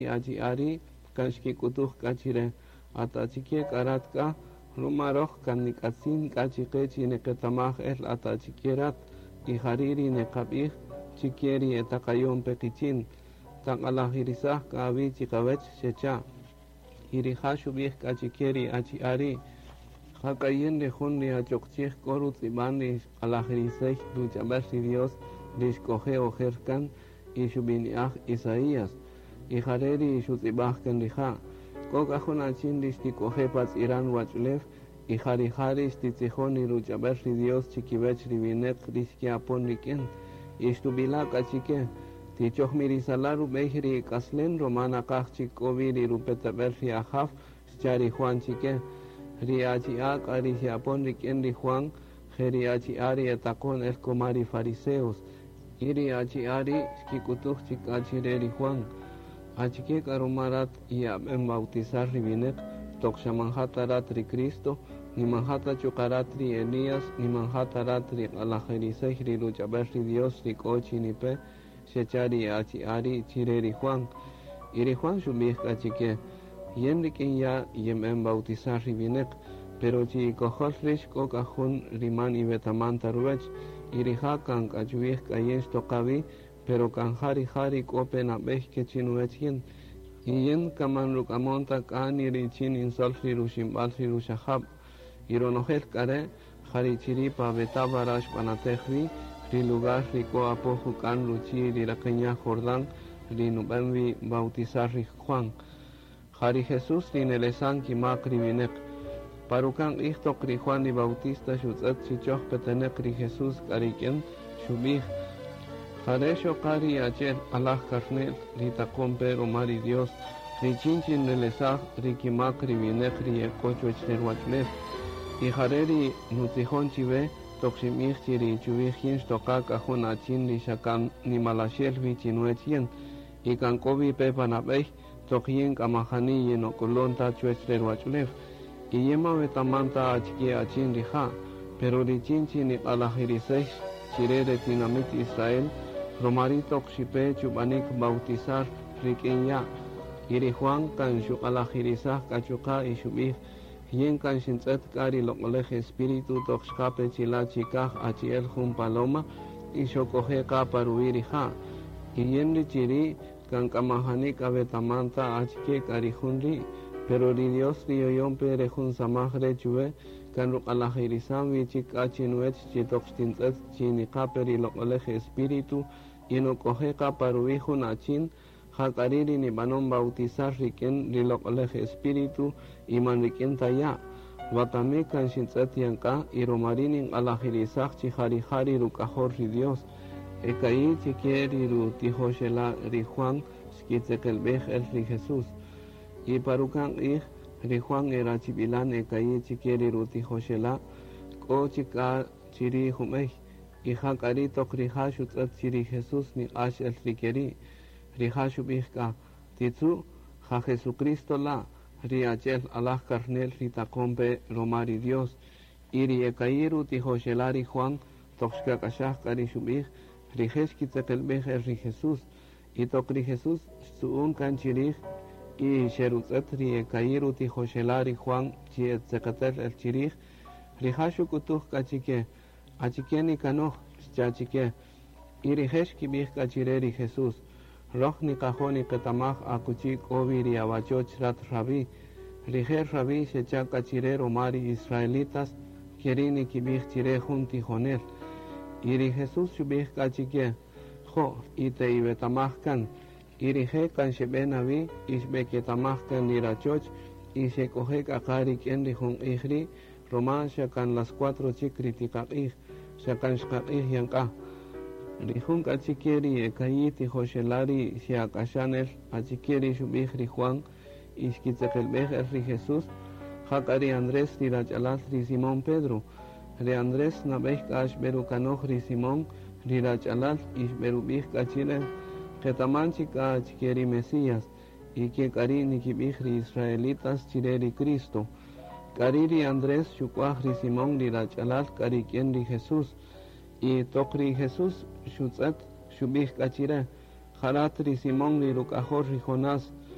Achi'a' ri' kan xkik'utuj k'a chire: At achike k'a rat k'a? Ruma roj kan nik'atzin k'a chiqe chi niqetamaj-el at achike rat, y jari' ri niqabij chike ri e taqayon-pe qichin. Taq'alajirisaj k'a awi' chiqawech, xecha'. Y rija' xubij k'a chike ri achi'a' ri': Jak'a yin ri jun ri achoq chij k'o rutz'ib'an ri xq'alajirisey ruch'ab'äl ri Dios ri xk'oje' ojer kan y xub'ini'aj Isaías. Y jare' ri xutz'ib'aj kan rija': K'o k'a jun achin ri xtik'oje' pa tz'iran ruwach'ulew y ja rija' ri xtitzijon ri ruch'ab'äl ri Dios chikiwech ri wineq ri xke'apon rik'in. Y xtub'ila' k'a chike: Tichojmirisala' rub'ey ri ik'aslen ruma naqaj chik k'o wi ri rupetab'el ri Ajaw, xcha' ri Juan chike. Ri achi'a' k'a ri xe'apon rik'in ri Juan, je ri achi'a' ri etaqon el kuma ri fariseos. Y ri achi'a' ri' xkik'utuj chik k'a chire ri Juan: Achike k'a ruma rat ye'ab'en bautizar ri wineq toq xa man ja ta rat ri Cristo, ni man ja ta chuqa' rat ri Elías, ni man ja ta rat ri q'alajirisey ri ruch'ab'äl ri Dios ri k'o chi nipe, xecha' ri achi'a' ri' chire ri Juan. Y ri Juan xub'ij k'a chike: Yin rik'in ya' yenb'en bautizar ri wineq, pero chi'ikojol rix k'o k'a jun ri man iwetaman ta ruwech, y rija' kan k'a chuwij k'a yin xtoqa wi, pero kan ja rija' ri k'o pe nab'ey ke chinuwech yin. Y yin kan man ruk'amon ta k'a ni richin ninsol ri ruximb'al ri ruxajab'. Y ronojel k'a re' ja ri chiri' pa Betábara xb'anatej wi, ri lugar ri k'o apo juk'an ruchi' ri raqen ya' Jordán ri nub'en wi bautizar ri Juan. Ja ri Jesús ri nelesan kimak ri wineq. Pa ruka'n q'ij toq ri Juan ri Bautista xutz'ët chi choj peteneq ri Jesús k'a rik'in, xub'ij: Jare' xoqa ri achi'el alaj karne'l ri taqon pe ruma ri Dios, richin chi nrelesaj ri kimak ri wineq ri e k'o chuwech re ruwach'ulew. Y jare' ri nutzijon chiwe toq xinb'ij chi ri chuwij yin xtoqa k'a jun achin ri xa kan nimalaxel wi chinuwech yin, y kan k'o wi pe pa nab'ey toq yin k'a majani yinok'ulun ta chuwech re ruwach'ulew. Y yin man wetaman ta achike achin rija', pero richin chi niq'alajirisex chire re tinamit Israel, ruma ri' toq xipe chub'anik bautizar rik'in ya'. Y ri Juan kan xuq'alajirisaj k'a chuqa' y xub'ij: Yin kan xintz'ët k'a ri Loq'olej Espíritu toq xqa pe chila' chikaj achi'el jun paloma y xok'oje' qa pa ruwi' rija'. Y yin ri chiri' kan k'a majani k'a wetaman ta achike k'a ri jun ri', pero ri Dios ri yoyon pe re jun samaj re' chuwe kan ruq'alajirisan wi chik k'a chinuwech chi toq xtintz'ët chi niqa pe ri Loq'olej Espíritu y nok'oje' qa pa ruwi' jun achin, ja k'a ri' ri nib'anon bautizar rik'in ri Loq'olej Espíritu y man rik'in ta ya'. Wakami kan xintz'ët yan k'a y ruma ri' ninq'alajirisaj chi ja rija' ri Ruk'ajol ri Dios. E ka'i' chike ri rutijoxela' ri Juan xkitzeqelb'ej el ri Jesús. Y pa ruka'n q'ij, ri Juan e rachib'ilan e ka'i' chike ri rutijoxela' k'o chik k'a chiri' jub'ey. Y ja k'a ri' toq rija' xutz'ët chi ri Jesús niq'ax el ri keri', rija' xub'ij k'a: Titzu', ja Jesucristo la', ri achi'el alaj karne'l ri taqon pe ruma ri Dios. Y ri e ka'i' rutijoxela' ri Juan toq xkak'axaj k'a ri xub'ij, rije' xkitzeqelb'ej el ri Jesús. Y toq ri Jesús xtzu'un kan chirij y xerutz'ët ri e ka'i' rutijoxela' ri Juan chi e tzeqetel el chirij, rija' xuk'utuj k'a chike: Achike nikanoj? xcha' chike. Y rije' xkib'ij k'a chire ri Jesús: Roj niqajo' niqetamaj akuchi k'o wi ri awachoch rat Rabí. Rije' Rabí xecha' k'a chire ruma ri israelitas keri' nikib'ij chire jun tijonel. Y ri Jesús xub'ij k'a chike: Jo', y te'iwetamaj kan. Y rije' kan xeb'e na wi y xb'eketamaj kan ri rachoch y xek'oje' k'a qa rik'in ri jun q'ij ri', ruma xa kan las cuatro chik ri tiqaq'ij, xa kan xqaq'ij yan k'a. Ri jun k'a chike ri e ka'i' tijoxela' ri xe'ak'axan el achike ri xub'ij ri Juan y xkitzeqelb'ej el ri Jesús, ja k'a ri Andrés ri rach'alal ri Simón Pedro. Ri Andrés nab'ey k'a xb'erukanoj ri Simón ri rach'alal y xb'erub'ij k'a chire: Qetaman chik k'a achike ri Mesías, y ke k'a ri' nikib'ij ri israelitas chire ri Cristo. K'ari' ri Andrés xuk'waj ri Simón ri rach'alal k'a rik'in ri Jesús. Y toq ri Jesús xutz'ët, xub'ij k'a chire: Ja rat ri Simón ri ruk'ajol ri Jonás.